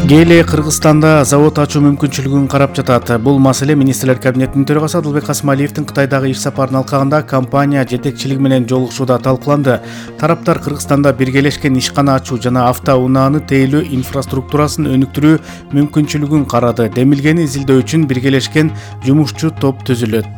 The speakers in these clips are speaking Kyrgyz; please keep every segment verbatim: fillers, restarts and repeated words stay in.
Гели Кыргызстанда завод ачуу мүмкүнчүлүгүн карап жатат. Бул маселе министрлер кабинетинин төрагасы Адылбек Касымалиевдин Кытайдагы иш сапарынын алкагында компания жетекчилиги менен жолугушууда талкууланды. Тараптар Кыргызстанда биргелешкен ишкана ачуу жана автоунааны тейлөө инфраструктурасын өнүктүрүү мүмкүнчүлүгүн карады. Демилгени изилдөө үчүн биргелешкен жумушчу топ түзүлөт.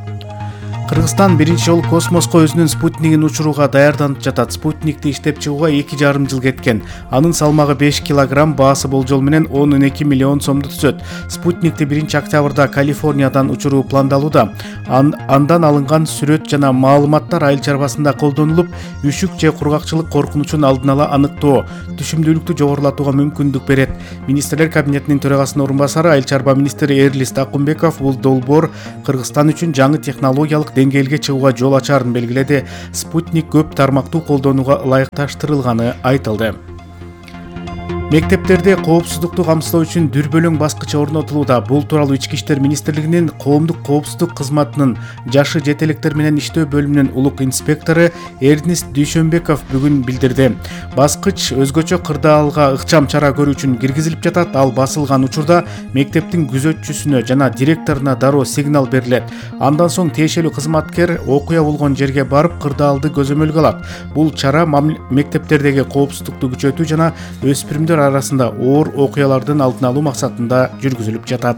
Кыргызстан биринчи жолу космоско өзүнүн спутнигин учурууга даярданып жатат. Спутникти иштеп чыгууга эки жарым жыл кеткен. Анын салмагы беш килограмм, баасы болжол менен он эки миллион сомду түзөт. Спутникти биринчи октябрда Калифорниядан учуруу пландалууда. Ан, андан алынган сүрөт жана маалыматтар айыл чарбасында колдонулуп, үшүк же кургакчылык коркунучун алдын ала аныктоо, түшүмдүүлүктү жогорулатууга мүмкүндүк берет. Министрлер кабинетинин төрагасынын орун басары айыл чарба министри Эрлис Такумбеков бул долбоор Кыргызстан үчүн жаңы технологиялык деңгээлге чыгууга жол ачаарын белгиледи. Спутник көп тармактуу колдонууга ылайыкташтырылганы айтылды. Мектептерде коопсуздукту камсыздоо үчүн дүрбөлөң баскыч орнотулууда. Бул тууралуу Ички иштер министрлигинин коомдук коопсуздук кызматынын жашы жете электер менен иштөө бөлүмүнүн улук инспектору Эрнист Дүйшөнбеков бүгүн билдирди. Баскыч өзгөчө кырдаалга ыкчам чара көрүү үчүн киргизилип жатат. Ал басылган учурда мектептин күзөтчүсүнө жана директоруна дароо сигнал берилет. Андан соң тиешелүү кызматкер окуя болгон жерге барып кырдаалды көзөмөлгө алат. Бул чара мектептердеги коопсуздукту күчөтүү жана өспүрүмдөр арасында оор окуялардын алдын алуу максатында жүргүзүлүп жатат.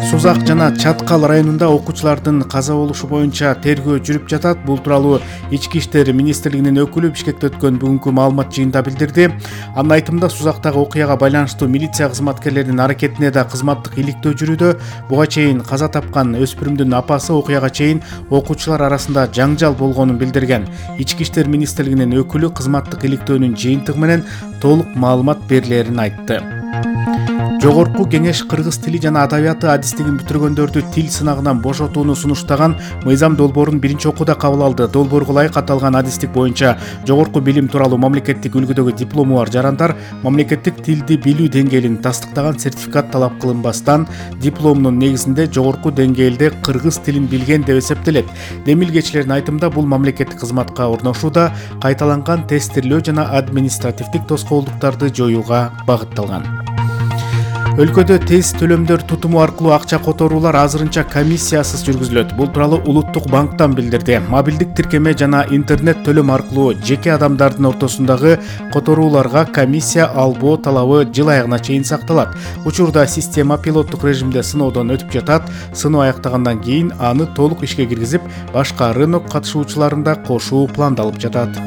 Сузак жана Чаткал районунда окуучулардын каза болушу боюнча тергөө жүрүп жатат. Бул тууралуу Ички иштер министрлигинин өкүлү Бишкекте өткөн бүгүнкү маалымат жыйынында билдирди. Анын айтымында Сузактагы окуяга байланыштуу милиция кызматкерлеринин аракетине да кызматтык иликтөө жүрүүдө. Буга чейин каза тапкан өспүрүмдүн апасы окуяга чейин окуучулар арасында жаңжал болгонун билдирген. Ички иштер министрлигинин өкүлү кызматтык иликтөөнүн жыйынтыгы менен толук маалымат берилерин айтты. Жогорку кеңеш кыргыз тили жана адабияты адистигин бүтүргөндөрдү тил сынагынан бошотууну сунуштаган мыйзам долбоорун биринчи окууда кабыл алды. Долбоорго ылайык аталган адистик боюнча жогорку билим тууралуу мамлекеттик үлгүдөгү диплому бар жарандар мамлекеттик тилди билүү деңгээлин тастыктаган сертификат талап кылынбастан дипломунун негизинде жогорку деңгээлде кыргыз тилин билген деп эсептелет. Демилгечилердин айтымында бул мамлекеттик кызматка орношууда кайталанган тестирлөө жана административдик тоскоолдуктарды жоюуга багытталган. Өлкөдө тез төлөмдөр тутуму аркылуу акча которуулар азырынча комиссиясыз жүргүзүлөт. Бул тууралуу Улуттук банктан билдирди. Мобилдик тиркеме жана интернет төлөм аркылуу жеке адамдардын ортосундагы которууларга комиссия албоо талабы жыл аягына чейин сакталат. Учурда система пилоттук режимде сыноодон өтүп жатат. Сыноо аяктагандан кийин аны толук ишке киргизип, башка рынок катышуучуларын да кошуу пландалып жатат.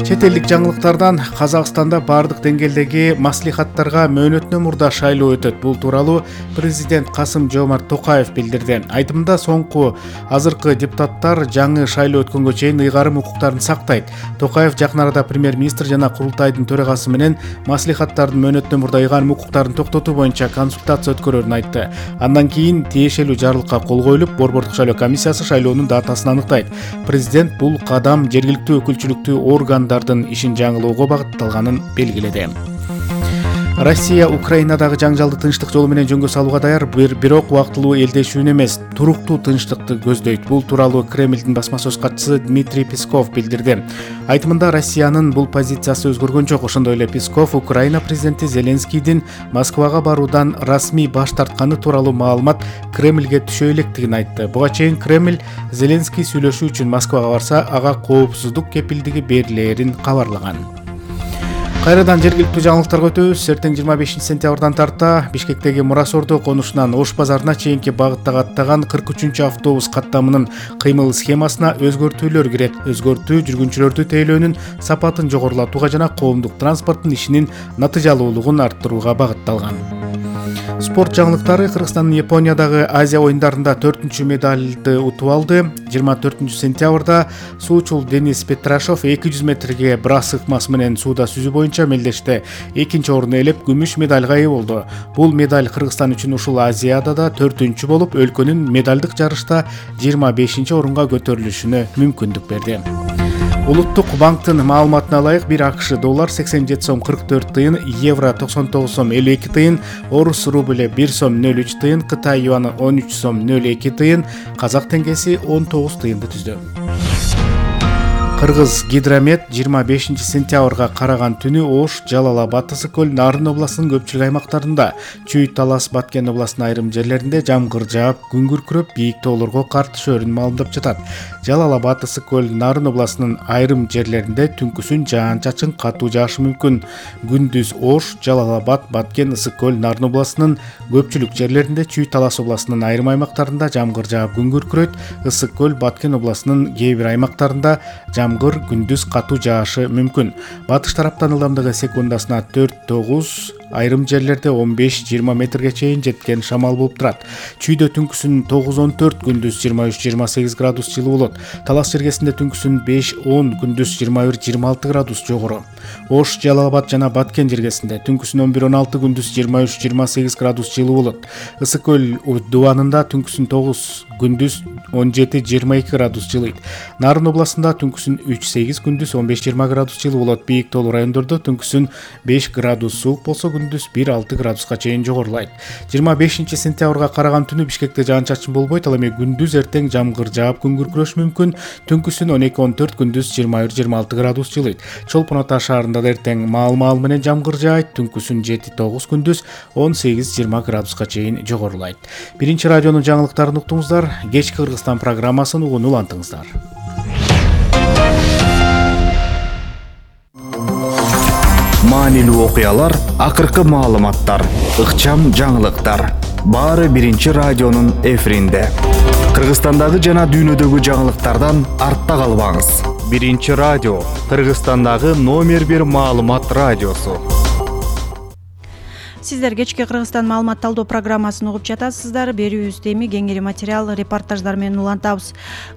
Чет элдик жаңылыктардан Казакстанда бардык деңгээлдеги маслихаттарга мөөнөтүнөн мурда шайлоо өтөт. Бул тууралуу президент Касым-Жомарт Токаев билдирди. Айтымында соңку азыркы депутаттар жаңы шайлоо өткөнгө чейин ыйгарым укуктарын сактайт. Токаев жакын арада премьер-министр жана курултайдын төрагасы менен маслихаттардын мөөнөтүнөн мурда ыйгарым укуктарын токтотуу боюнча консультация өткөрөрүн айтты. Андан кийин тиешелүү жарлыкка кол коюлуп, Борбордук шайлоо комиссиясы шайлоонун датасын аныктайт. Президент бул кадам жергиликтүү өкүлчүлүктүү органдар ишин жаңылоого багытталганын белгиледи. Россия Украинадагы жаңжалды тынчтык жолу менен жөнгө салууга даяр, бирок убактылуу элдешүүнү эмес, туруктуу тынчтыкты көздөйт. Бул тууралуу Кремлдин басма сөз катчысы Дмитрий Песков билдирди. Айтымында Россиянын бул позициясы өзгөргөн жок. Ошондой эле Песков Украина президенти Зеленскийдин Москвага баруудан расмий баш тартканы тууралуу маалымат Кремлге түшө электигин айтты. Буга чейин Кремль Зеленский сүйлөшүү үчүн Москвага барса, ага коопсуздук кепилдиги берилерин кабарлаган. Кайрадан жергиликтүү жаңылыктарга өтөбүз. Эртең жыйырма бешинчи сентябрдан тарта Бишкектеги Мурасордо конушунан Ош базарына чейинки багыттагы аттаган кырк үчүнчү автобус каттамынын кыймыл схемасына өзгөртүүлөр кирет. Өзгөртүү жүргүнчүлөрдү тейлөөнүн сапатын жогорулатууга жана коомдук транспорттун ишинин натыйжалуулугун арттырууга багытталган. Спорт жаңылыктары. Кыргызстан Япониядагы Азия оюндарында төртүнчү медалды утуп алды. жыйырма төртүнчү сентябрда суучул Денис Петрашов эки жүз метрге брас ыкмасы менен сууда сүзүү боюнча мелдеште экинчи орунду ээлеп, күмүш медалга ээ болду. Бул медаль Кыргызстан үчүн ушул Азиядада төртүнчү болуп, өлкөнүн медалдык жарышта жыйырма бешинчи орунга көтөрүлүшүнө мүмкүндүк берди. Улуттук банктын маалыматына ылайык бир АКШ доллар сексен жети сом кырк төрт тыйын, евро токсон тогуз сом элүү эки тыйын, орус рубль бир сом нөл үч тыйын, Кытай юаны он үч сом нөл эки тыйын, казак теңгеси он тогуз тыйынды түздү. Кыргыз Гидромет жыйырма бешинчи сентябрга караган түнү Ош, Жалал Абад, Ысык көл, Нарын областынын көпчүлүк аймактарында, Чүй, Талас, Баткен областынын айрым жерлеринде жамгыр жаап, күн күркүрөп, бийик тоолорго кар түшөрүн маалымдап жатат. Жалал Абад, Ысык көл, Нарын областынын айрым жерлеринде түнкүсүн жаан-чачын катуу жаашы мүмкүн. Күндүз Ош, Жалал Абад, Баткен, Ысык көл, Нарын областынын көпчүлүк жерлеринде, Чүй, Талас областынын айрым аймактарында жамгыр жаап, күн күркүрөт. Ысык көл, Баткен областынын кээ бир аймактарында жамгыр, күндүз катуу жаашы мүмкүн. Батыш тараптан ылдамдыгы секундасына төрт тогуз, айрым жерлерде он беш жыйырма метрге чейин жеткен шамал болуп турат. Чүйдө түнкүсүн тогуз он төрт, күндүз жыйырма үч жыйырма сегиз градус жылуу болот. Талас жергесинде түнкүсүн беш он, күндүз жыйырма бир жыйырма алты градус жогору. Ош, Жалал Абад жана Баткен жергесинде түнкүсүн он бир он алты, күндүз жыйырма үч жыйырма сегиз градус жылуу болот. Ысык көл дубанында түнкүсүн тогуз, күндүз он жети жыйырма эки градус жылыйт. Нарын областында түнкүсүн үч сегиз, күндүз он беш жыйырма градус жылуу болот. Бийик тоолуу райондордо түнкүсүн беш градус суук болсо, күндүз бир алты градуска чейин жогорулайт. жыйырма бешинчи сентябрга караган түнү Бишкекте жаан-чачын болбойт, ал эми күндүз эртең жамгыр жаап, күн күркүрөшү мүмкүн. Түнкүсүн он эки он төрт, күндүз жыйырма бир жыйырма алты градус жылыйт. Чолпон Ата шаарында да эртең маал-маал менен жамгыр жаайт. Түнкүсүн жети тогуз, күндүз он сегиз жыйырма градуска чейин жогорулайт. Биринчи радионун жаңылыктарын уктуңуздар. Кечки Кыргызстан программасын угууну улантыңыздар. Маанилүү окуялар, акыркы маалыматтар, ыкчам жаңылыктар. Баары биринчи радионун эфиринде. Кыргызстандагы жана дүйнөдөгү жаңылыктардан артта калбаңыз. Биринчи радио, Кыргызстандагы номер бир маалымат радиосу. Сиздер кечки Кыргызстан маалымат талдоо программасын угуп жатасыздар. Берүүбүздө эми кеңири материал, репортаждар менен улантабыз.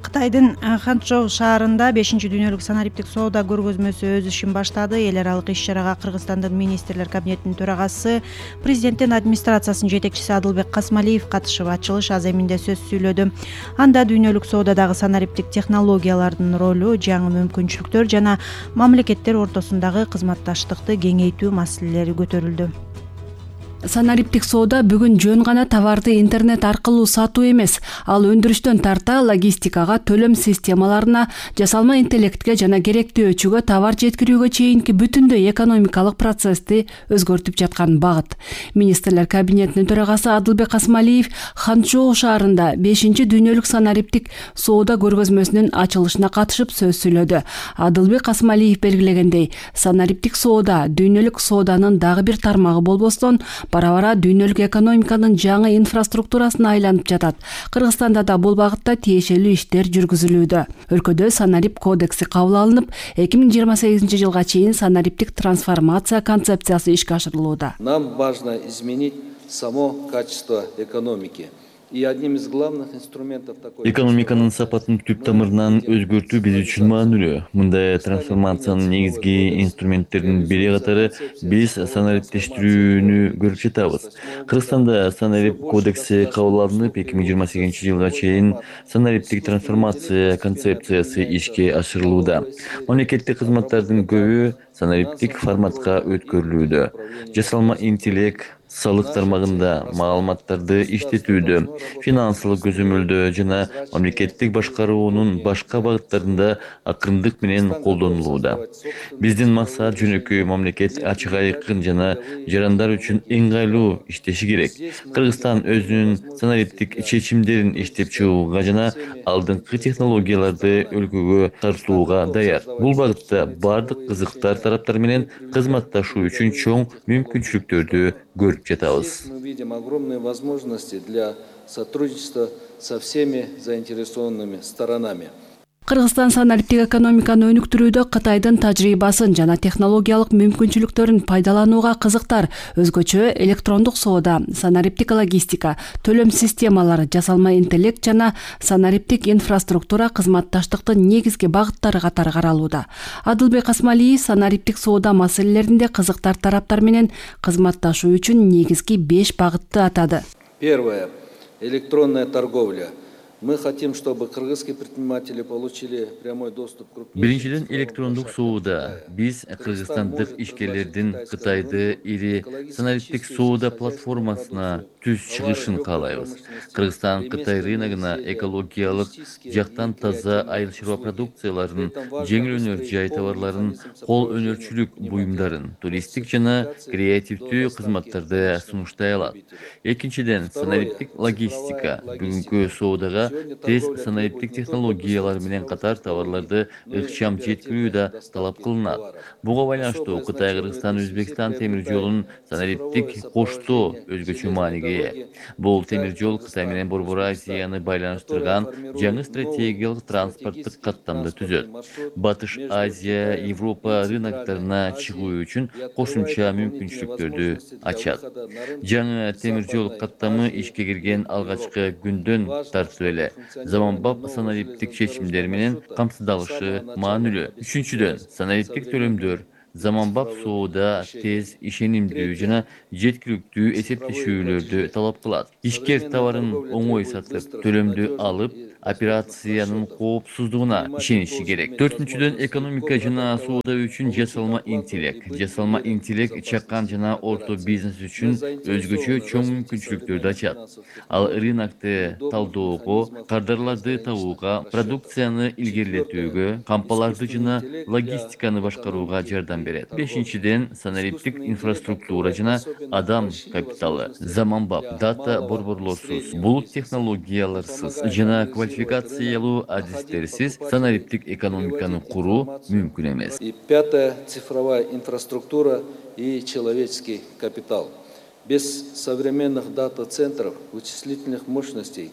Кытайдын Ханчжоу шаарында бешинчи дүйнөлүк санариптик соода көргөзмөсү өз ишин баштады. Эл аралык иш-чарага Кыргызстандын министрлер кабинетинин төрагасы, президенттин администрациясынын жетекчиси Адылбек Касмалиев катышып, ачылыш аземинде сөз сүйлөдү. Анда дүйнөлүк соодадагы санариптик технологиялардын ролу, жаңы мүмкүнчүлүктөр жана мамлекеттер ортосундагы кызматташтыкты кеңейтүү маселелери көтөрүлдү. Санариптик соода бүгүн жөн гана товарды интернет аркылуу сатуу эмес, ал өндүрүштөн тарта логистикага, төлөм системаларына, жасалма интеллектке жана керектүү өчүгө товар жеткирүүгө чейинки бүтүндөй экономикалык процессти өзгөртүп жаткан багыт. Министрлер кабинетинин төрагасы Адылбек Касмалиев Ханчжоу шаарында бешинчи дүйнөлүк санариптик соода көргөзмөсүнүн ачылышына катышып сөз сүйлөдү. Адылбек Касмалиев белгилегендей, санариптик соода дүйнөлүк сооданын дагы бир тармагы болбостон, бара-бара дүйнөлүк экономиканын жаңы инфраструктурасына айланып жатат. Кыргызстанда да бул багытта тиешелүү иштер жүргүзүлүүдө. Өлкөдө санарип кодекси кабыл алынып, эки миң жыйырма сегизинчи жылга чейин санариптик трансформация концепциясы ишке ашырылууда. Нам важно изменить само качество экономики. И одним из главных инструментов такой экономиканын сапатын түп тамырынан өзгөртүү биз үчүн маанилүү. Мындай трансформациянын негизги инструменттеринин бири катары биз санариптештирүүнү көрүп жатабыз. Кыргызстанда санарип кодекси кабыл алынып, эки миң жыйырма сегизинчи жылга чейин санариптик трансформация концепциясы ишке ашырылууда. Мамлекеттик кызматтардын көбү санариптик форматка өткөрүлүүдө. Жасалма интеллект, салык тармагында маалыматтарды иштетүүдө, финансылык көзөмөлдөө жана мамлекеттик башкаруунун башка багыттарында акырындык менен колдонулууда. Биздин максат жөнөкөй мамлекет ачык айкын жана жарандар үчүн ыңгайлуу иштеши керек. Кыргызстан өзүнүн санариптик чечимдерин иштеп чыгууга жана алдыңкы технологияларды өлкөгө тартууга даяр. Бул багытта бардык кызыктар тараптар менен кызматташуу үчүн чоң мүмкүнчүлүктөрдү көрүп жатабыз. Мы видим огромные возможности для сотрудничества со всеми заинтересованными сторонами. Кыргызстан санариптик экономиканы өнүктүрүүдө Кытайдын тажрыйбасын жана технологиялык мүмкүнчүлүктөрүн пайдаланууга кызыктар. Өзгөчө электрондук соода, санариптик логистика, төлөм системалары, жасалма интеллект жана санариптик инфраструктура кызматташтыктын негизги багыттары катары каралууда. Адылбек Касмалиев санариптик соода маселелеринде кызыктар тараптар менен кызматташуу үчүн негизги беш багытты атады. Первое. Электронная торговля. Мы хотим, чтобы кыргызские предприниматели получили прямой доступ к крупнейшим. Биринчиден, электрондук соода. Биз кыргызстандык ишкерлердин Кытайды ири санариптик соода платформасына түз чыгышын каалайбыз. Кыргызстан Кытай рыногуна экологиялык жактан таза айыл чарба продукцияларын, жеңил өнөр жай товарларын, кол өнөрчүлүк буюмдарын, туристтик жана креативдүү кызматтарды сунуштай алат. Экинчиден, санариптик логистика бүгүнкү соодага тез санариптик технологиялар менен катар товарларды ыкчам жеткирүү да талап кылынат. Буга байланыштуу Кытай, Кыргызстан, Өзбекстан темир жолунун санариптик коштоо өзгөчө мааниге ээ. Бул темир жол Кытай менен Борбор Азияны байланыштырган жаңы стратегиялык транспорттук каттамды түзөт. Батыш Азия, Европа рыноктарына чыгуу үчүн кошумча мүмкүнчүлүктөрдү ачат. Жаңы темир жол каттамы ишке кирген алгачкы күндөн тартып эле заманбап санариптик чечимдер менен камсыздалышы маанилүү. Үчүнчүдөн, санариптик төлөмдөр заманбап соода тез, ишенимдүү жана жеткиликтүү эсептешүүлөрдү талап кылат. Ишкер товарын оңой сатып, төлөмдү алып, операциянын коопсуздугуна ишениши керек. Төртүнчүдөн, экономика жана соода үчүн жасалма интеллект. Жасалма интеллект чакан жана орто бизнес үчүн өзгөчө чоң мүмкүнчүлүктөрдү ачат. Ал рынокты талдоого, кардарларды табууга, продукцияны илгерилетүүгө, кампаларды жана логистиканы башкарууга жардам берет. Бешинчиден, санариптик инфраструктура жана адам капиталы. Заманбап дата борборлорсуз, булут технологияларсыз жана квалификациялуу адистерсиз санариптик экономиканы куруу мүмкүн эмес. И пятое, цифровая инфраструктура и человеческий капитал. Без современных дата-центров, вычислительных мощностей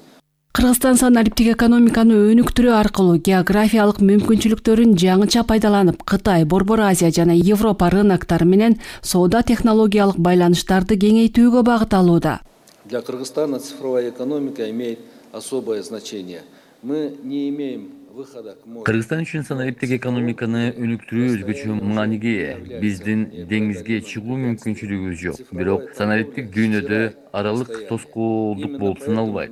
Кыргызстан санариптик экономиканы өнүктүрүү аркылуу географиялык мүмкүнчүлүктөрүн жаңыча пайдаланып, Кытай, Борбор Азия жана Европа рыноктары менен соода технологиялык байланыштарды кеңейтүүгө багыт алууда. Для Кыргызстана цифровая экономика имеет особое значение. Мы не имеем Кыргызстан үчүн санариптик экономиканы өнүктүрүү өзгөчө мааниге ээ. Биздин деңизге чыгуу мүмкүнчүлүгүбүз жок. Бирок санариптик дүйнөдө аралык тоскоолдук болуп саналбайт.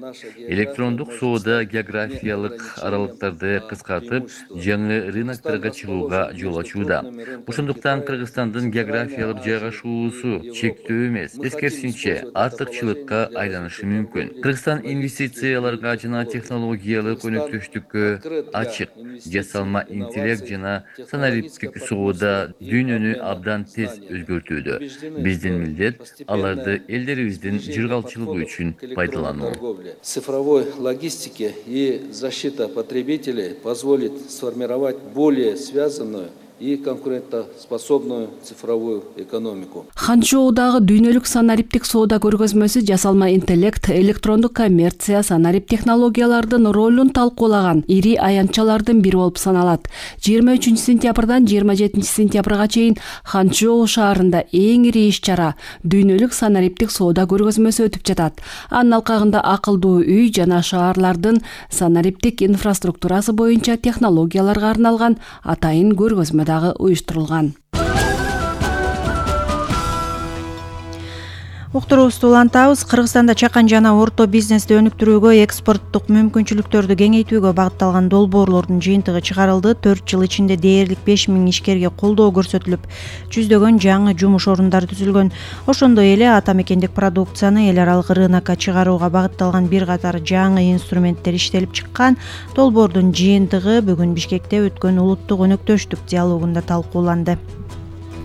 Электрондук соода географиялык аралыктарды кыскартып, жаңы рыноктарга чыгууга жол ачууда. Ошондуктан Кыргызстандын географиялык жайгашуусу чектөө эмес, эскерисинче артыкчылыкка айланышы мүмкүн. Кыргызстан инвестицияларга жана технологиялык өнөктөштүккө ачык. Жасалма интеллект жана санариптик соода дүйнөнү абдан тез өзгөртүүдө. Биздин милдет аларды элдерибиздин жыргалчылыгы үчүн пайдалануу. Цифровой логистики и защита потребителей позволит сформировать более связанную и конкурентоспособную цифровую экономику. Ханчжоудагы дүйнөлүк санариптик соода көргөзмөсү жасалма интеллект, электрондук коммерция, санарип технологиялардын ролун талкуулаган ири аянтчалардын бири болуп саналат. жыйырма үчүнчү сентябрдан жыйырма жетинчи сентябрга чейин Ханчжоу шаарында эң ири иш-чара дүйнөлүк санариптик соода көргөзмөсү өтүп жатат. Анын алкагында акылдуу үй жана шаарлардын санариптик инфраструктурасы боюнча технологияларга арналган атайын көргөзмө дагы уюштурулган. Уктуруубузду улантабыз. Кыргызстанда чакан жана орто бизнести өнүктүрүүгө, экспорттук мүмкүнчүлүктөрдү кеңейтүүгө багытталган долбоорлордун жыйынтыгы чыгарылды. төрт жыл ичинде дээрлик беш миң ишкерге колдоо көрсөтүлүп, жүздөгөн жаңы жумуш орундары түзүлгөн. Ошондой эле ата мекендик продукцияны эл аралык рынокко чыгарууга багытталган бир катар жаңы инструменттер иштелип чыккан. Долбоордун жыйынтыгы бүгүн Бишкекте өткөн улуттук өнөктөштүк диалогунда талкууланды.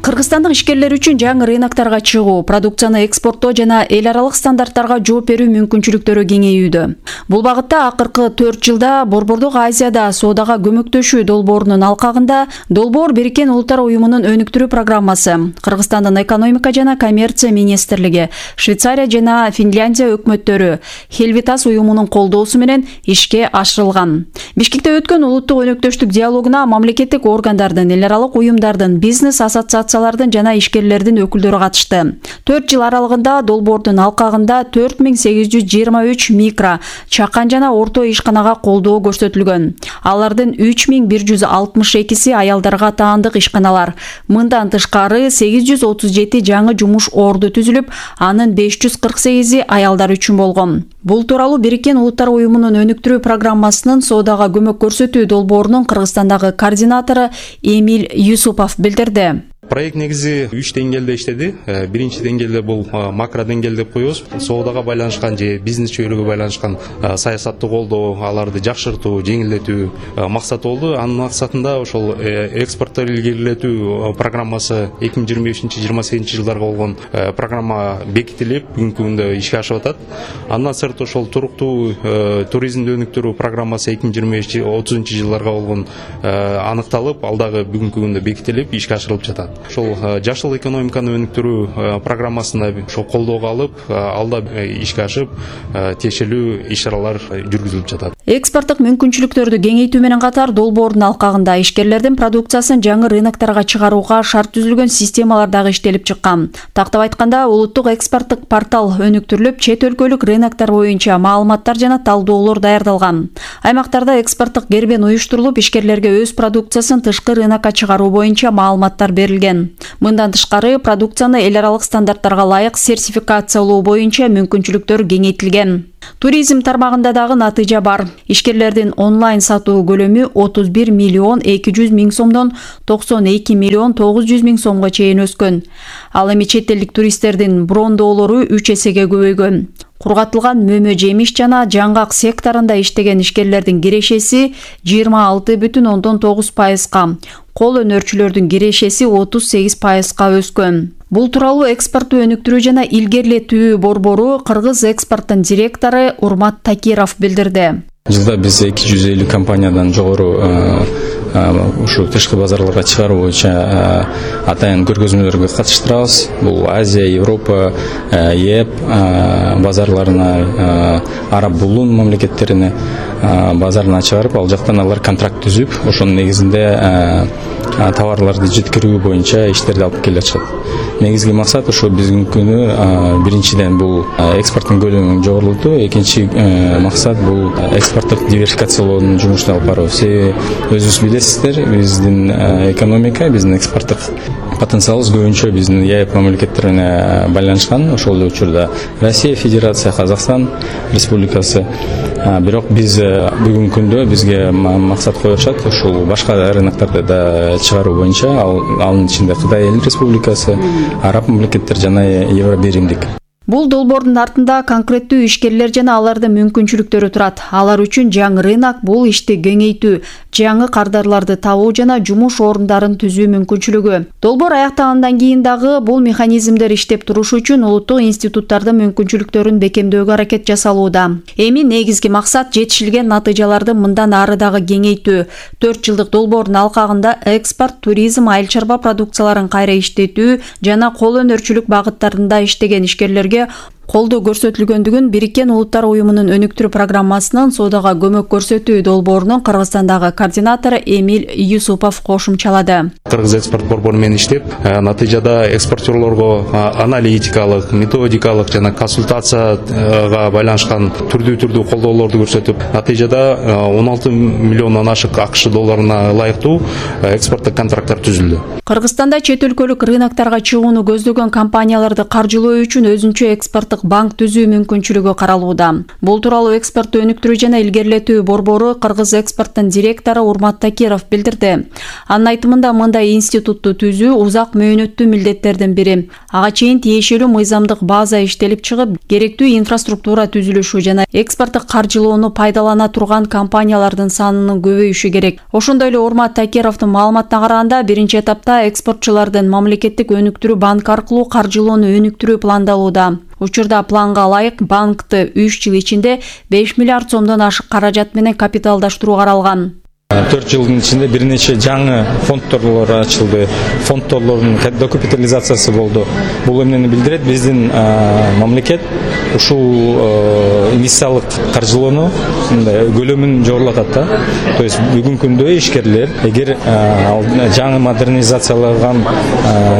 Кыргызстандык ишкерлер үчүн жаңы рыноктарга чыгуу, продукцияны экспорттоо жана эл аралык стандарттарга жооп берүү мүмкүнчүлүктөрү кеңейүүдө. Бул багытта акыркы төрт жылда Борбордук Азияда соодага көмөктөшүү долбоорунун алкагында долбоор Бириккен Улуттар Уюмунун өнүктүрүү программасы, Кыргызстандын экономика жана коммерция министрлиги, Швейцария жана Финляндия өкмөттөрү, Хелвитас уюмунун колдоосу менен ишке ашырылган. Бишкекте өткөн улуттук өнөктөштүк диалогуна мамлекеттик органдардын, эл аралык уюмдардын, бизнес ассоциациялардын жана ишкерлердин өкүлдөрү катышты. төрт жыл аралыгында долбоордун алкагында төрт миң сегиз жүз жыйырма үч микро, чакан жана орто ишканага колдоо көрсөтүлгөн. Алардын үч миң бир жүз алтымыш экиси аялдарга таандык ишканалар. Мындан тышкары сегиз жүз отуз жети жаңы жумуш орду түзүлүп, анын беш жүз кырк сегизи аялдар үчүн болгон. Бул тууралуу Бириккен Улуттар Уюмунун өнүктүрүү программасынын соодага көмөк көрсөтүү долбоорунун Кыргызстандагы координатору Эмиль Юсупов билдирди. Проект негизи үч деңгээлде иштеди. Биринчи деңгээлде бул макро деңгээл деп коебуз. Соодага байланышкан же бизнес чөйрөгө байланышкан саясатты колдоо, аларды жакшыртуу, жеңилдетүү максаты болду. Анын максатында ошол экспортту илгерилетүү программасы эки миң жыйырма бешинчи жыйырма сегизинчи жылдарга болгон программа бекитилип, бүгүнкү күндө ишке ашып атат. Андан сырт ошол туруктуу туризмди өнүктүрүү программасы эки миң жыйырма беш отузунчу жылдарга болгон аныкталып, ал дагы бүгүнкү күндө бекитилип, ишке ашырылып жатат. Ошол жашыл экономиканы өнүктүрүү программасына ошол колдоого алып, алда ишке ашып, тиешелүү иш-чаралар жүргүзүлүп жатат. Экспорттук мүмкүнчүлүктөрдү кеңейтүү менен катар долбоордун алкагында ишкерлердин продукциясын жаңы рыноктарга чыгарууга шарт түзүлгөн системалар дагы иштелип чыккан. Тактап айтканда, улуттук экспорттук портал өнүктүрүлүп, чет өлкөлүк рыноктор боюнча маалыматтар жана талдоолор даярдалган. Аймактарда экспорттук кербен уюштурулуп, ишкерлерге өз продукциясын тышкы рынокко чыгаруу боюнча маалыматтар берилген. Мындан тышкары, продукцияны эл аралык стандарттарга ылайык сертификациялоо боюнча мүмкүнчүлүктөр кеңейтилген. Туризм тармагында дагы натыйжа бар. Ишкерлердин онлайн сатуу көлөмү отуз бир миллион эки жүз миң сомдон токсон эки миллион тогуз жүз миң сомго чейин өскөн. Ал эми чет элдик туристтердин брондоолору үч эсеге көбөйгөн. Кургатылган мөмө жемиш жана жаңгак секторунда иштеген ишкерлердин кирешеси жыйырма алты бүтүн ондон тогуз пайызга, кол өнөрчүлөрдүн кирешеси отуз сегиз пайызга өскөн. Бул тууралуу экспортту өнүктүрүү жана илгерилетүү борбору Кыргыз экспорттун директору Урмат Такиров билдирди. Жылда биз эки жүз элүү компаниядан жогору ушу тышкы базарларга чыгаруу боюнча атайын көргөзмөлөргө катыштырабыз. Бул Азия, Европа, ЕЭП базарларына, Араб Булун мамлекеттерине базарына чыгарып, ал жактан алар контракт түзүп, ошонун негизинде товарларды жеткирүү боюнча иштерди алып келе жатышат. Негизги максат ошо бүгүнкү күнү биринчиден бул экспорттун көлөмүн жогорултуу, экинчи максат бул экспорттук диверсификациялоонун жумушун алып баруу. Өзүңүз билесиздер, биздин экономика, биздин экспорттук потенциалыбыз көбүнчө биздин ЕЭП мамлекеттерине байланышкан. Ошол эле учурда Россия Федерация, Казакстан Республикасы. Бирок биз бүгүнкү күндө бизге максат коюшат ушул башка рыноктарды да чыгаруу боюнча, анын ичинде Кытай Эл Республикасы, Араб мамлекеттер жана Евробиримдик. Бул долбоордун артында конкреттүү ишкерлер жана алардын мүмкүнчүлүктөрү турат. Алар үчүн жаңы рынок бул ишти кеңейтүү, жаңы кардарларды табуу жана жумуш орундарын түзүү мүмкүнчүлүгү. Долбоор аяктагандан кийин дагы бул механизмдер иштеп турушу үчүн улуттук институттардын мүмкүнчүлүктөрүн бекемдөөгө аракет жасалууда. Эми негизги максат жетишилген натыйжаларды мындан ары дагы кеңейтүү. төрт жылдык долбоордун алкагында экспорт, туризм, айыл чарба продукцияларын кайра иштетүү жана кол өнөрчүлүк багыттарында иштеген ишкерлерге колдоо көрсөтүлгөндүгүн Бириккен Улуттар уюмунун өнүктүрүү программасынын соодага көмөк көрсөтүү долбоорунун Кыргызстандагы координатору Эмиль Юсупов кошумчалады. Кыргыз экспорт борбору менен иштеп, натыйжада экспортерлорго аналитикалык, методикалык жана консультацияга байланышкан түрдүү-түрдүү колдоолорду көрсөтүп, натыйжада он алты миллиондон ашык АКШ долларына ылайыктуу экспорттук контракттар түзүлдү. Кыргызстанда чет өлкөлүк рынокторго чыгууну көздөгөн компанияларды каржылоо үчүн өзүнчө экспорттук банк түзүү мүмкүнчүлүгү каралууда. Бул тууралуу экспортту өнүктүрүү жана илгерилетүү борбору Кыргыз экспорттун директору Урмат Такиров билдирди. Анын айтымында мындай институтту түзүү узак мөөнөттүү милдеттердин бири. Ага чейин тиешелүү мыйзамдык база иштелип чыгып, керектүү инфраструктура түзүлүшү жана экспорттук каржылоону пайдалана турган компаниялардын санынын көбөйүшү керек. Ошондой эле Урмат Такировдун маалыматына караганда, биринчи этапта экспортчулардын мамлекеттик өнүктүрүү банк аркылуу каржылоону өнүктүрүү пландалууда. Учурда планга ылайык банкты үч жыл ичинде беш миллиард сомдон ашык каражат менен капиталдаштыруу каралган. төрт жылдын ичинде бир нече жаңы фонддорлор ачылды. Фонддорлордун докапитализациясы болду. Бул эмнени билдирет? Биздин мамлекет ушул инвестициялык каржылоону көлөмүн жогорулатат да. То есть бүгүнкү күндө ишкерлер эгер жаңы модернизацияланган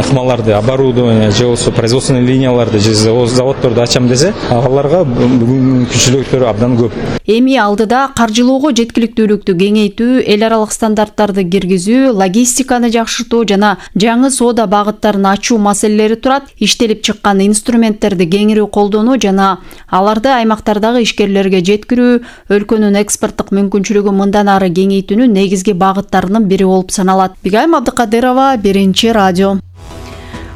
ыкмаларды, оборудование же болбосо производственный линияларды же заводдорду ачам десе, аларга бүгүнкү мүмкүнчүлүктөр абдан көп. Эми алдыда каржылоого жеткиликтүүлүктү кеңейтүү, эл аралык стандарттарды киргизүү, логистиканы жакшыртуу жана жаңы соода багыттарын ачуу маселелери турат. Иштелип чыккан инструменттерди кеңири колдонуу жана аларды аймактардагы ишкерлерге жеткирүү өлкөнүн экспорттук мүмкүнчүлүгү мындан ары кеңейтүүнүн негизги багыттарынын бири болуп саналат. Бигайым Абдыкадырова, Биринчи радио.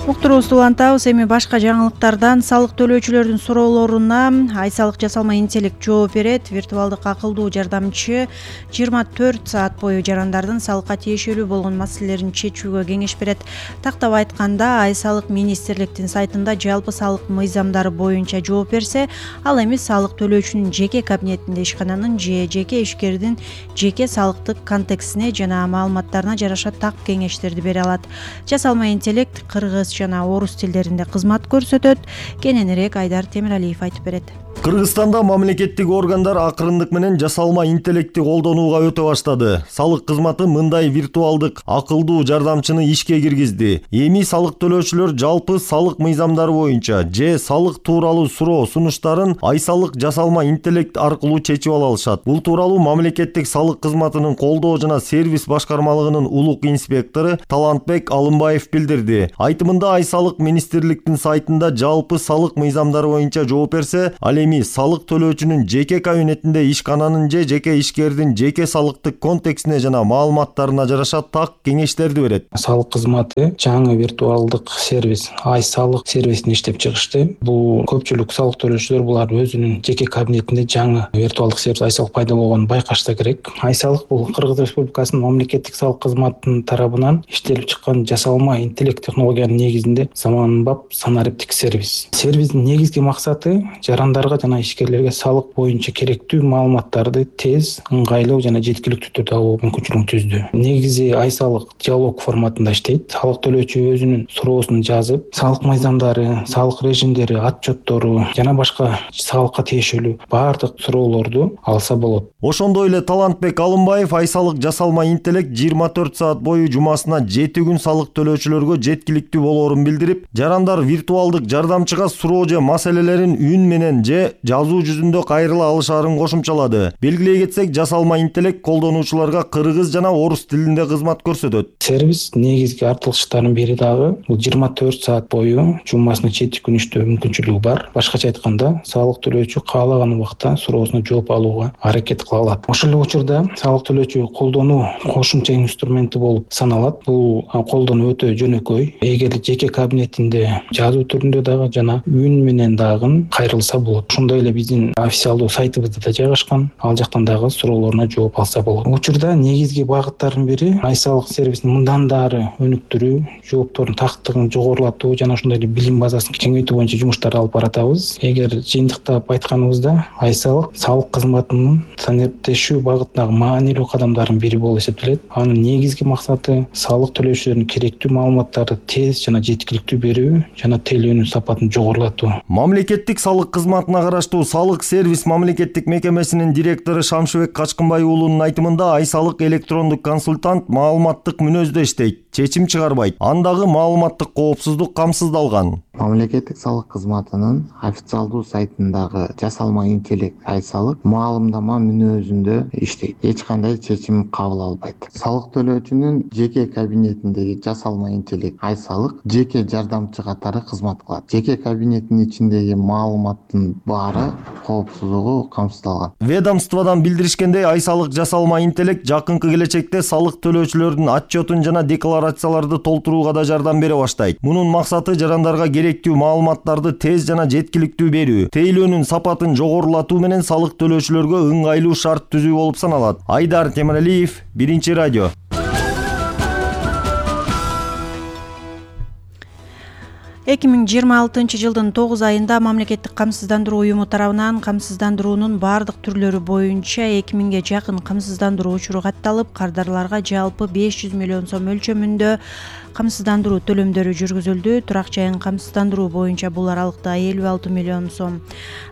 Уктуруубузду улантабыз. Эми башка жаңылыктардан салык төлөөчүлөрдүн суроолоруна ай салык жасалма интеллект жооп берет. Виртуалдык акылдуу жардамчы жыйырма төрт саат бою жарандардын салыкка тиешелүү болгон маселелерин чечүүгө кеңеш берет. Тактап айтканда, ай салык министрликтин сайтында жалпы салык мыйзамдары боюнча жооп берсе, ал эми салык төлөөчүнүн жеке кабинетинде ишкананын же жеке ишкердин жеке салыктык контекстине жана маалыматтарына жараша так кеңештерди бере алат. Жасалма интеллект кыргыз жана орус тилдеринде кызмат көрсөтөт. Кененирээк Айдар Темиралиев айтып берет. Кыргызстанда мамлекеттик органдар акырындык менен жасалма интеллектти колдонууга өтө баштады. Салык кызматы мындай виртуалдык акылдуу жардамчыны ишке киргизди. Эми салык төлөөчүлөр жалпы салык мыйзамдары боюнча же салык тууралуу суроо сунуштарын ай салык жасалма интеллект аркылуу чечип ала алышат. Бул тууралуу мамлекеттик салык кызматынын колдоо жана сервис башкармалыгынын улук инспектору Талантбек Алымбаев билдирди. Айтымында ай салык министрликтин сайтында жалпы салык мыйзамдары боюнча жооп берсе, ал эми салык төлөөчүнүн жеке кабинетинде ишкананын же жеке ишкердин жеке салыктык контекстине жана маалыматтарына жараша так кеңештерди берет. Салык кызматы жаңы виртуалдык сервис ай салык сервисин иштеп чыгышты. Бул көпчүлүк салык төлөөчүлөр булар өзүнүн жеке кабинетинде жаңы виртуалдык сервис ай салык пайда болгонун байкашса керек. Ай салык бул Кыргыз Республикасынын мамлекеттик салык кызматынын тарабынан иштелип чыккан жасалма интеллект технологиянын негизинде заманбап санариптик сервис. Сервистин негизги максаты жарандарга жана ишкерлерге салык боюнча керектүү маалыматтарды тез, ыңгайлуу жана жеткиликтүү түрдө алуу мүмкүнчүлүгүн түздү. Негизи ай салык диалог форматында иштейт. Салык төлөөчү өзүнүн суроосун жазып, салык мыйзамдары, салык режимдери, отчеттору жана башка салыкка тиешелүү баардык суроолорду алса болот. Ошондой эле Талантбек Алымбаев ай салык жасалма интеллект жыйырма төрт саат бою жумасына жети күн салык төлөөчүлөргө жеткиликтүү болоорун билдирип, жарандар виртуалдык жардамчыга суроо же маселелерин үн менен же жазуу жүзүндө кайрыла алышаарын кошумчалады. Белгилей кетсек, жасалма интеллект колдонуучуларга кыргыз жана орус тилинде кызмат көрсөтөт. Сервис негизги артылыштарынын бири дагы бул жыйырма төрт саат бою жумасына жети күн иштөө мүмкүнчүлүгү бар. Башкача айтканда, салык төлөөчү каалаган убакта суроосуна жооп алууга аракет кыла алат. Ошол эле учурда салык төлөөчү колдонуу кошумча инструменти болуп саналат. Бул колдонуу өтө жөнөкөй. Эгер жеке кабинетинде жазуу түрүндө дагы жана үн менен дагы кайрылса болот. Ошондой эле биздин официалдуу сайтыбызда да жайгашкан. Ал жактан дагы суроолоруна жооп алса болот. Учурда негизги багыттардын бири ай салык сервисин мындан дары өнүктүрүү, жооптордун тактыгын жогорулатуу жана ошондой эле билим базасын кеңейтүү боюнча жумуштар алып баратабыз. Эгер жыйынтыктап айтканыбызда, ай салык салык кызматынын санариптешүү багытындагы маанилүү кадамдардын бири болуп эсептелет. Анын негизги максаты салык төлөөчүлөрдүн керектүү маалыматтарды тез жана жеткиликтүү берүү жана тейлөөнүн сапатын жогорулатуу. Мамлекеттик салык кызматына караштуу салык сервис мамлекеттик мекемесинин директору Шамшыбек Качкынбай уулунун айтымында, ай салык электрондук консультант маалыматтык мүнөздө иштейт, чечим чыгарбайт. Андагы маалыматтык коопсуздук камсыздалган. Мамлекеттик салык кызматынын официалдуу сайтындагы жасалма интеллект ай салык маалымдама мүнөзүндө иштейт. Эч кандай чечим кабыл албайт. Салык төлөөчүнүн жеке кабинетиндеги жасалма интеллект ай салык жеке жардамчы катары кызмат кылат. Жеке кабинеттин ичиндеги маалыматтын баары коопсуздугу камсыздалган. Ведомстводон билдиришкендей, ай салык жасалма интеллект жакынкы келечекте салык төлөөчүлөрдүн отчетун жана декларацияларды толтурууга да жардам бере баштайт. Мунун максаты жарандарга керектүү маалыматтарды тез жана жеткиликтүү берүү, тейлөөнүн сапатын жогорулатуу менен салык төлөөчүлөргө ыңгайлуу шарт түзүү болуп саналат. Айдар Темиралиев, Биринчи радио. эки миң жыйырма алтынчы жылдын тогуз айында мамлекеттик камсыздандыруу уюму тарабынан камсыздандыруунун баардык түрлөрү боюнча эки миңге жакын камсыздандыруу учуру катталып, кардарларга жалпы беш жүз миллион сом өлчөмүндө камсыздандыруу төлөмдөрү жүргүзүлдү. Турак жайын камсыздандыруу боюнча бул аралыкта элүү алты миллион сом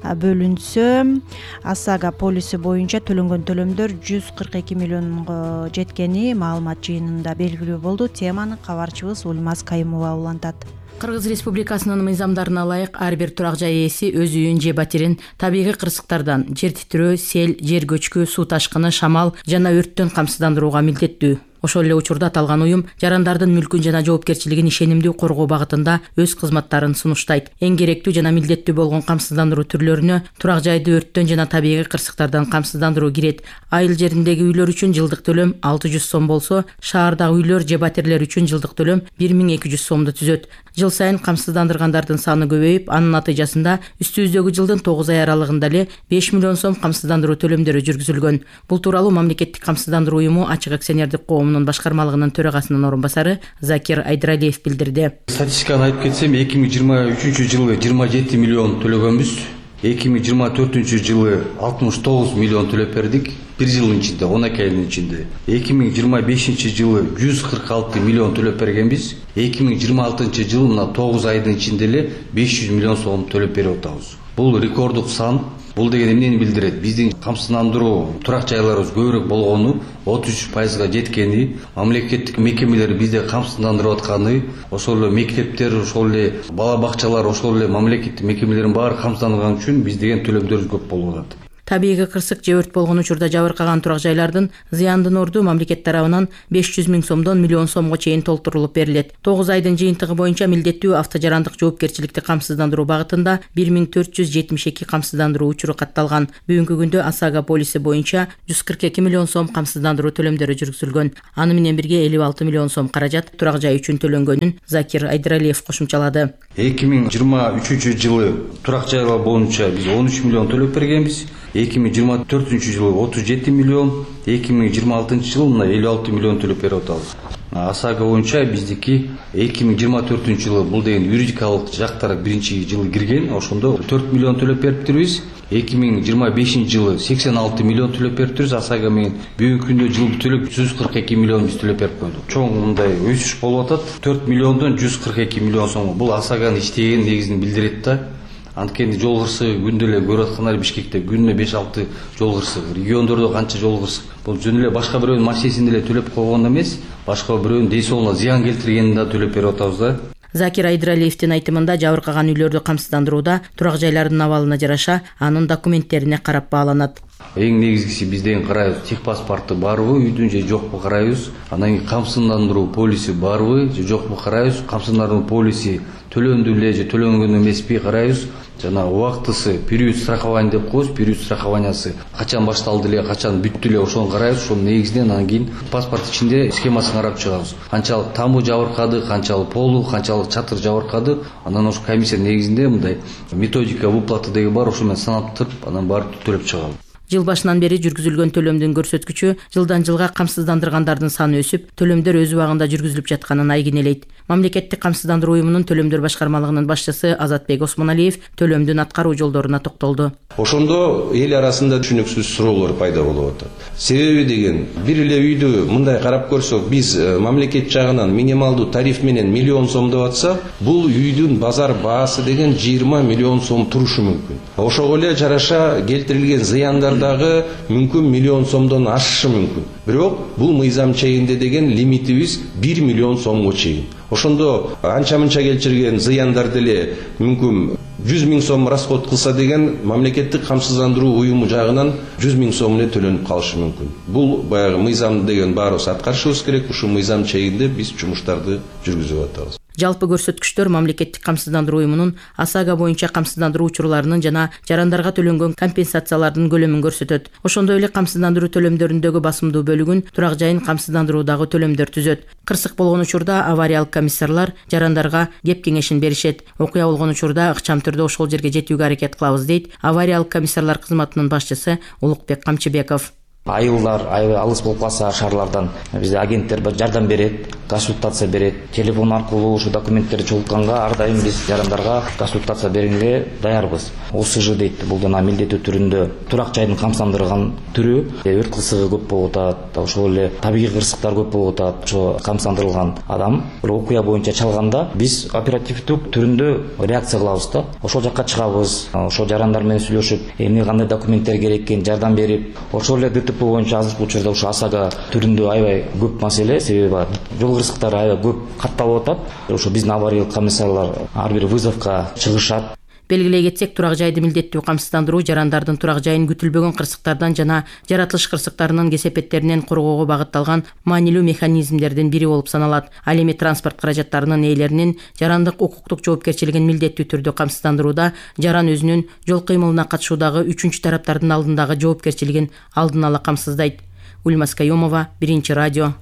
бөлүнсө, ОСАГО полиси боюнча төлөнгөн төлөмдөр жүз кырк эки миллионго жеткени маалымат жыйынында белгилүү болду. Теманы кабарчыбыз Ульмаз Кайымова улантат. Кыргыз Республикасынын мыйзамдарына ылайык ар бир турак жай ээси өз үйүн же батирин табигый кырсыктардан, жер титирөө, сел, жер көчкү, суу ташкыны, шамал жана өрттөн камсыздандырууга милдеттүү. Ошол эле учурда аталган уюм жарандардын мүлкүн жана жоопкерчилигин ишенимдүү коргоо багытында өз кызматтарын сунуштайт. Эң керектүү жана милдеттүү болгон камсыздандыруу түрлөрүнө турак жайды өрттөн жана табигый кырсыктардан камсыздандыруу кирет. Айыл жериндеги үйлөр үчүн жылдык төлөм алты жүз сом болсо, шаардагы үйлөр же батирлер үчүн жылдык төлөм бир миң эки жүз сомду түзөт. Жыл сайын камсыздандыргандардын саны көбөйүп, анын натыйжасында үстүбүздөгү жылдын тогуз ай аралыгында эле беш миллион сом камсыздандыруу төлөмдөрү жүргүзүлгөн. Бул тууралуу мамлекеттик камсыздандыруу уюму ачык акционердик коомунун башкармалыгынын төрагасынын орун басары Закир Айдралиев билдирди. Статистиканы айтып кетсем, эки миң жыйырма үчүнчү жылы жыйырма жети миллион төлөгөнбүз. эки миң жыйырма төртүнчү жылы алтымыш тогуз миллион төлөп бердик. бир жылдын ичинде, он эки айдын ичинде. эки миң жыйырма бешинчи жылы жүз кырк алты миллион төлөп бергенбиз. эки миң жыйырма алтынчы жылы мына тогуз айдын ичинде эле беш жүз миллион сом төлөп берип атабыз. Бул рекорддук сан. Бул деген эмнени билдирет? Биздин камсыздандыруу турак жайларыбыз көбүрөөк болгону, отуз үч пайызга жеткени, мамлекеттик мекемелер бизде камсыздандырып атканы, ошол эле мектептер, ошол эле бала бакчалар, ошол эле мамлекеттик мекемелердин баары камсызданган үчүн биз деген төлөмдөрүбүз көп болуп атат. Табигый кырсык же өрт болгон учурда жабыркаган турак жайлардын зыяндын орду мамлекет тарабынан беш жүз миң сомдон миллион сомго чейин толтурулуп берилет. тогуз айдын жыйынтыгы боюнча милдеттүү автожарандык жоопкерчиликти камсыздандыруу багытында бир миң төрт жүз жетимиш эки камсыздандыруу учуру катталган. Бүгүнкү күндө Асага полиси боюнча жүз кырк эки миллион сом камсыздандыруу төлөмдөрү жүргүзүлгөн. Аны менен бирге элүү алты миллион сом каражат турак жай үчүн төлөнгөнүн Закир Айдралиев кошумчалады. эки миң жыйырма үчүнчү жылы турак жайлар боюнча биз он үч миллион төлөп бергенбиз. эки миң жыйырма төртүнчү жылы отуз жети миллион, эки миң жыйырма алтынчы жылы мына элүү алты миллион төлөп берип атабыз. Асага боюнча биздики эки миң жыйырма төртүнчү жылы бул деген юридикалык жактар биринчи жылы кирген, ошондо төрт миллион төлөп бериптирбиз. эки миң жыйырма бешинчи жылы сексен алты миллион төлөп бериптирбиз. Асага менен бүгүнкү күндө жылдык төлөп жүз кырк эки миллион биз төлөп берип койдук. Чоң мындай өсүш болуп атат. төрт миллиондон жүз кырк эки миллион сом. Бул Асаганын иштеген негизин билдирет да. Анткени жол кырсыгы күндө эле көрүп аткандар Бишкекте күнүнө беш алты жол кырсыгы, региондордо канча жол кырсык. Бул жөн эле башка бирөөнүн машинесин деле төлөп койгон эмес, башка бирөөнүн дейсоолуна зыян келтиргенин да төлөп берип атабыз да. Закир Айдралиевдин айтымында жабыркаган үйлөрдү камсыздандырууда турак жайлардын абалына жараша анын документтерине карап бааланат. Эң негизгиси бизден карайбыз, техпаспортту барбы, үйдүн же жокпу карайбыз. Анан кийин камсыздандыруу полиси барбы же жокпу карайбыз. Камсыздандыруу полиси төлөндү эле же төлөнгөн эмеспи карайбыз. Жана убактысы период страхования деп коебуз, период страхованиясы качан башталды эле, качан бүттү эле, ошону карайбыз. Ошонун негизинен анан кийин паспорт ичинде схемасын карап чыгабыз. Канчалык тамбу жабыркады, канчалык полу, канчалык чатыр жабыркады. Анан ошо комиссия негизинде мындай методика выплаты деген бар, ошо менен санап туруп, анан барып төлөп чыгабыз. Жыл башынан бери жүргүзүлгөн төлөмдүн көрсөткүчү жылдан жылга камсыздандыргандардын саны өсүп, төлөмдөр өз убагында жүргүзүлүп жатканын айгинелейт. Мамлекеттик камсыздандыруу уюмунун төлөмдөр башкармалыгынын башчысы Азатбек Осмоналиев төлөмдүн аткаруу жолдоруна токтолду. Ошондо эл арасында түшүнүксүз суроолор пайда болуп атат. Себеби деген бир эле үйдү мындай карап көрсөк, биз мамлекет жагынан минималдуу тариф менен миллион сом деп атсак, бул үйдүн базар баасы деген жыйырма миллион сом турушу мүмкүн. Ошого эле жараша келтирилген зыяндар дагы мүмкүн миллион сомдон ашышы мүмкүн. Бирок бул мыйзам чегинде деген лимитибиз бир миллион сомго чейин. Ошондо анча-мынча келтирген зыяндар деле мүмкүн жүз миң сом расход кылса деген мамлекеттик камсыздандыруу уюму жагынан жүз миң сом эле төлөнүп калышы мүмкүн. Бул баягы мыйзам деген баарыбыз аткарышыбыз керек. Ушул мыйзам чегинде биз жумуштарды жүргүзүп атабыз. Жалпы көрсөткүчтөр мамлекеттик камсыздандыруу уюмунун Асага боюнча камсыздандыруу учурларынын жана жарандарга төлөнгөн компенсациялардын көлөмүн көрсөтөт. Ошондой эле камсыздандыруу төлөмдөрүндөгү басымдуу бөлүгүн турак жайын камсыздандыруудагы төлөмдөр түзөт. Кырсык болгон учурда авариялык комиссарлар жарандарга кеп кеңешин беришет. Окуя болгон учурда ыкчам түрдө ошол жерге жетүүгө аракет кылабыз дейт авариялык комиссарлар кызматынын башчысы Улукбек Камчыбеков. Айылдар, алыс болуп калса шаарлардан бизде агенттер жардам берет, консультация берет. Телефон аркылуу ушу документтерди чогултканга ар дайым биз жарандарга консультация бергенге даярбыз. О С Ж дейт, бул жана милдеттүү түрүндө турак жайдын камсыздандырган түрү. Өрт кырсыгы көп болуп атат, ошол эле табигый кырсыктар көп болуп атат. Ошо камсыздандырылган адам бир окуя боюнча чалганда биз оперативдүү түрүндө реакция кылабыз да. Ошол жакка чыгабыз, ошол жарандар менен сүйлөшүп, эмне кандай документтер керек экенин жардам берип, ошол эле ДТП боюнча азыркы учурда ушу ОСАГО түрүндө аябай көп маселе, себеби жол кырсыктары аябай көп катталып атат. Ошо биздин авариялык комиссарлар ар бир вызовко чыгышат. Белгилей кетсек, турак жайды милдеттүү камсыздандыруу жарандардын турак жайын күтүлбөгөн кырсыктардан жана жаратылыш кырсыктарынын кесепеттеринен коргоого багытталган маанилүү механизмдердин бири болуп саналат. Ал эми транспорт каражаттарынын ээлеринин жарандык укуктук жоопкерчилигин милдеттүү түрдө камсыздандырууда жаран өзүнүн жол кыймылына катышуудагы үчүнчү тараптардын алдындагы жоопкерчилигин алдын ала камсыздайт. Ульмас Каюмова, Биринчи радио.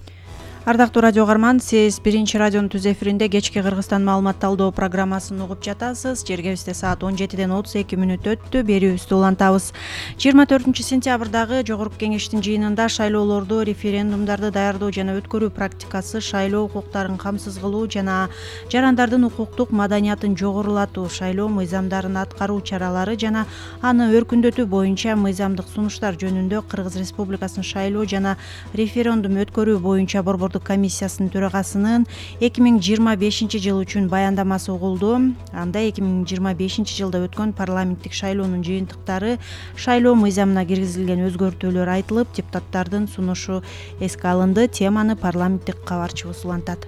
Ардактуу радио угарман, сиз Биринчи радионун түз эфиринде кечки Кыргызстан маалымат талдоо программасын угуп жатасыз. Жергебизде саат он жетиден отуз эки мүнөт өттү. Берүүбүздү улантабыз. жыйырма төртүнчү сентябрдагы Жогорку Кеңештин жыйынында шайлоолорду, референдумдарды даярдоо жана өткөрүү практикасы, шайлоо укуктарын камсыз кылуу жана жарандардын укуктук маданиятын жогорулатуу, шайлоо мыйзамдарын аткаруу чаралары жана аны өркүндөтүү боюнча мыйзамдык сунуштар жөнүндө Кыргыз Республикасынын шайлоо жана референдум өткөрүү боюнча борбордук комиссиясынын төрагасынын эки миң жыйырма бешинчи жыл үчүн баяндамасы угулду. Анда эки миң жыйырма бешинчи жылда өткөн парламенттик шайлоонун жыйынтыктары, шайлоо мыйзамына киргизилген өзгөртүүлөр айтылып, депутаттардын сунушу эске алынды. Теманы парламенттик кабарчыбыз улантат.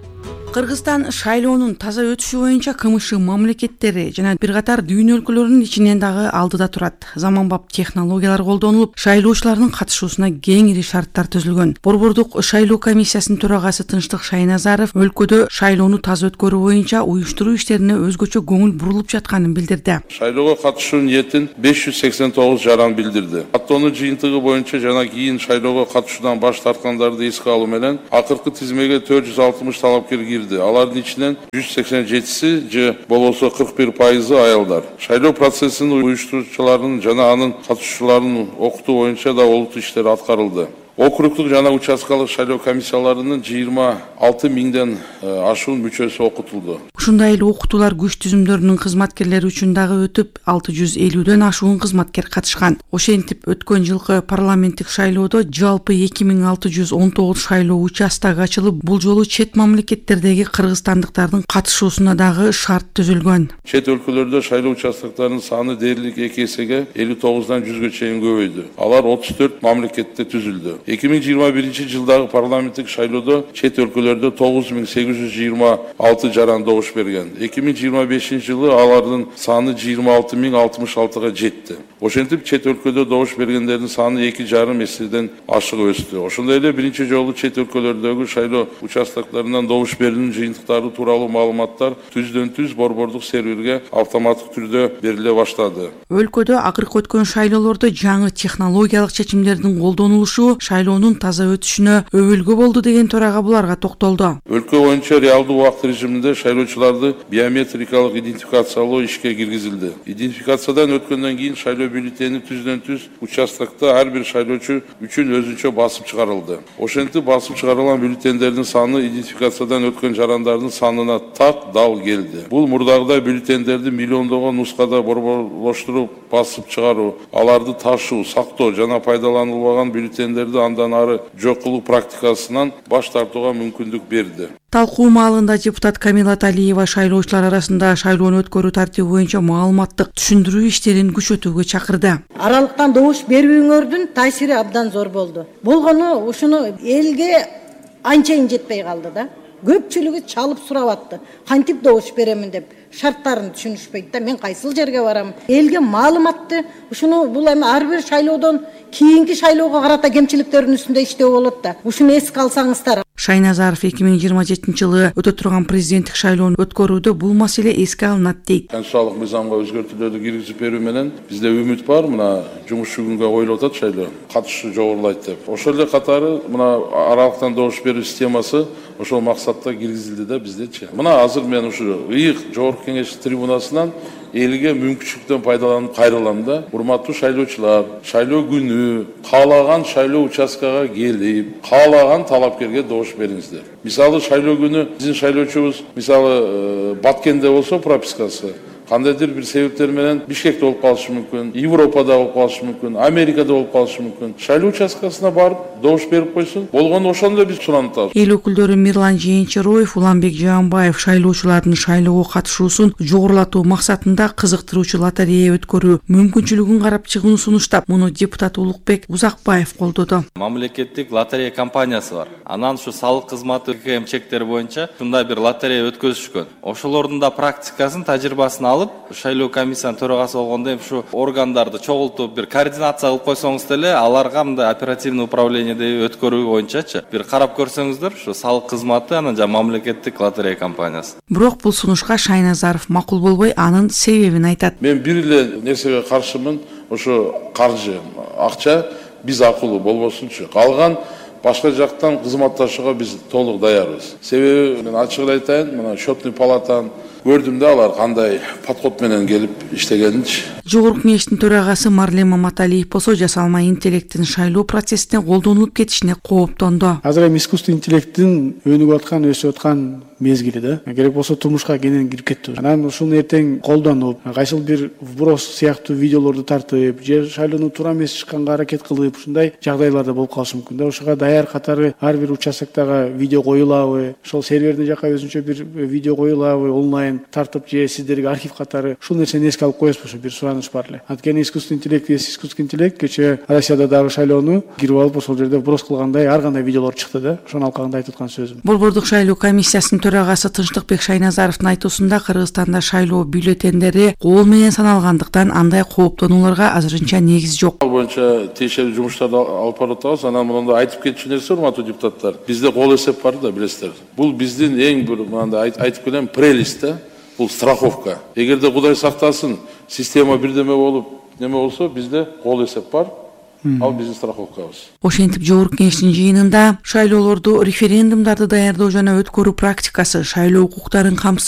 Кыргызстан шайлоонун таза өтүшү боюнча КМШ мамлекеттери жана бир катар дүйнө өлкөлөрүнүн ичинен дагы алдыда турат. Заманбап технологиялар колдонулуп, шайлоочулардын катышуусуна кеңири шарттар түзүлгөн. Борбордук шайлоо комиссиясынын төрагасы Тынчтык Шайназаров өлкөдө шайлоону таза өткөрүү боюнча уюштуруу иштерине өзгөчө көңүл бурулуп жатканын билдирди. Шайлоого катышуу ниетин беш жүз сексен тогуз жаран билдирди. Каттоонун жыйынтыгы боюнча жана кийин шайлоого катышуудан баш тарткандарды эске алуу менен акыркы тизмеге төрт жүз алтымыш талапкер кирди. Алардын ичинен жүз сексен жетиси же болбосо кырк бир пайызы аялдар. Шайлоо процессин уюштуруучуларын жана анын катышуучуларын окутуу боюнча да олуттуу иштер аткарылды. Округдук жана участкалык шайлоо комиссияларынын жыйырма алты миңден ашуун мүчөсү окутулду. Ушундай эле окутуулар күч түзүмдөрүнүн кызматкерлери үчүн дагы өтүп, алты жүз элүүдөн ашуун кызматкер катышкан. Ошентип өткөн жылкы парламенттик шайлоодо жалпы эки миң алты жүз он тогуз шайлоо участогу ачылып, бул жолу чет мамлекеттердеги кыргызстандыктардын катышуусуна дагы шарт түзүлгөн. Чет өлкөлөрдө шайлоо участоктарынын саны дээрлик эки эсеге элүү тогуздан жүзгө чейин көбөйдү. Алар отуз төрт мамлекетте түзүлдү. эки миң жыйырма биринчи жылдагы парламенттик шайлоодо чет өлкөлөрдө тогуз миң сегиз жүз жыйырма алты жаран добуш берген. эки миң жыйырма бешинчи жылы алардын саны жыйырма алты миң алтымыш алтыга жетти. Ошентип чет өлкөдө добуш бергендердин саны эки жарым эседен ашык өстү. Ошондой эле биринчи жолу чет өлкөлөрдөгү шайлоо участоктарынан добуш берүүнүн жыйынтыктары тууралуу маалыматтар түздөн түз борбордук серверге автоматтык түрдө бериле баштады. Өлкөдө акыркы өткөн шайлоолордо жаңы технологиялык чечимдердин колдонулушу шайлоонун таза өтүшүнө өбөлгө болду деген төрага буларга токтолду. Өлкө боюнча реалдуу убакыт режиминде шайлоочуларды биометрикалык идентификациялоо ишке киргизилди. Идентификациядан өткөндөн кийин шайлоо бюллетени түздөн түз участокто ар бир шайлоочу үчүн өзүнчө басып чыгарылды. Ошентип басып чыгарылган бюллетендердин саны идентификациядан өткөн жарандардын санына так дал келди. Бул мурдагыдай бюллетендерди миллиондогон нускада борборлоштуруп басып чыгаруу, аларды ташуу, сактоо жана пайдаланылбаган бюллетендерди андан ары жок кылуу практикасынан баш тартууга мүмкүндүк берди. Талкуу маалында депутат Камила Талиева шайлоочулар арасында шайлоону өткөрүү тартиби боюнча маалыматтык түшүндүрүү иштерин күчөтүүгө чакырды. Аралыктан добуш берүүңөрдүн таасири абдан зор болду. Болгону ушуну элге анчайын жетпей калды да. Көпчүлүгү чалып сурап атты. Кантип добуш беремин деп шарттарын түшүнүшпөйт да. Мен кайсыл жерге барам? Элге маалыматты ушуну бул эми ар бир шайлоодон кийинки шайлоого карата кемчиликтердин үстүндө иштөө болот да. Ушуну эске алсаңыздар. Шайназаров эки миң жыйырма жетинчи жылы өтө турган президенттик шайлоону өткөрүүдө бул маселе эске алынат дейт. Конституциялык мыйзамга өзгөртүүлөрдү киргизип берүү менен бизде үмүт бар. Мына жумушчу күнгө коюлуп атат шайлоо. Катышуу жогорулайт деп. Ошол эле катары мына аралыктан добуш берүү системасы ошол максатта киргизилди да биздечи. Мына азыр мен ушу ыйык Жогорку Кеңеш трибунасынан элге мүмкүнчүлүктөн пайдаланып кайрылам да. Урматтуу шайлоочулар, шайлоо күнү каалаган шайлоо участкага келип, каалаган талапкерге добуш бериңиздер. Мисалы шайлоо күнү биздин шайлоочубуз мисалы Баткенде болсо пропискасы кандайдыр бир себептер менен Бишкекте болуп калышы мүмкүн, Европада болуп калышы мүмкүн, Америкада болуп калышы мүмкүн. Шайлоо участкасына барып добуш берип койсун, болгону ошондо биз суранып атабыз. Эл өкүлдөрү Мирлан Жээнчероев, Уланбек Жаанбаев шайлоочулардын шайлоого катышуусун жогорулатуу максатында кызыктыруучу лотерея өткөрүү мүмкүнчүлүгүн карап чыгууну сунуштап, муну депутат Улукбек Узакбаев колдоду. Мамлекеттик лотерея компаниясы бар. Анан ушу салык кызматы КМ чектери боюнча ушундай бир лотерея өткөзүшкөн. Ошолордун да практикасын, тажрыйбасын алып, шайлоо комиссиянын төрагасы болгондо эми ушу органдарды чогултуп бир координация кылып койсоңуз деле, аларга мындай оперативный управлениеде өткөрүү боюнчачы бир карап көрсөңүздөр, ушу салык кызматы анан жана мамлекеттик лотерея компаниясы. Бирок бул сунушка Шайназаров макул болбой, анын себебин айтат. Мен бир эле нерсеге каршымын, ошо каржы, акча биз акылуу болбосунчу. Калган башка жактан кызматташууга биз толук даярбыз. Себеби мен ачык эле айтайын, мына счетный палатаны көрдүм да, алар кандай подход менен келип иштегенинчи. Жогорку кеңештин төрагасы Марлен Маматалиев болсо жасалма интеллекттин шайлоо процессине колдонулуп кетишине кооптонду. Азыр эми искусственный интеллекттин өнүгүп аткан, өсүп аткан мезгили да. Керек болсо турмушка кенен кирип кетти. Анан ушуну эртең колдонуп, кайсыл бир вброс сыяктуу видеолорду тартып, же шайлоону туура эмес чыкканга аракет кылып, ушундай жагдайларда болуп калышы мүмкүн да. Ушуга даяр катары ар бир участоктогу видео коюлабы, ошол сервердин жака өзүнчө бир видео коюлабы, онлайн тартып же сиздерге архив катары ушул нерсени эске алып коесузбу? Ошо бир сураныч бар эле. Анткени искусственный интеллект, искусственный интеллект кечээ Россияда дагы шайлоону кирип алып, ошол жерде вброс кылгандай ар кандай видеолор чыкты да. Ошону алкагында айтып аткан сөзүм. Борбордук шайлоо комиссиясынын төрагасы Тынчтыкбек Шайназаровдун айтуусунда, Кыргызстанда шайлоо бюллетендери кол менен саналгандыктан андай кооптонууларга азырынча негиз жок. Ал боюнча тиешелүү жумуштарды алып барып атабыз. Анан мындай айтып кетчү нерсе, урматтуу депутаттар, бизде кол эсеп бар да, билесиздер. Бул биздин эң бир мындай айтып келем прелесть да. Бул страховка. Эгерде Кудай сактасын, система бирдеме болуп, неме болсо, бизде кол эсеп бар. Ал биздин страховкабыз. Ошентип жогорку кеңештин жыйынында шайлоолорду, референдумдарды даярдоо жана өткөрүү практикасы, шайлоо укуктарын камсыз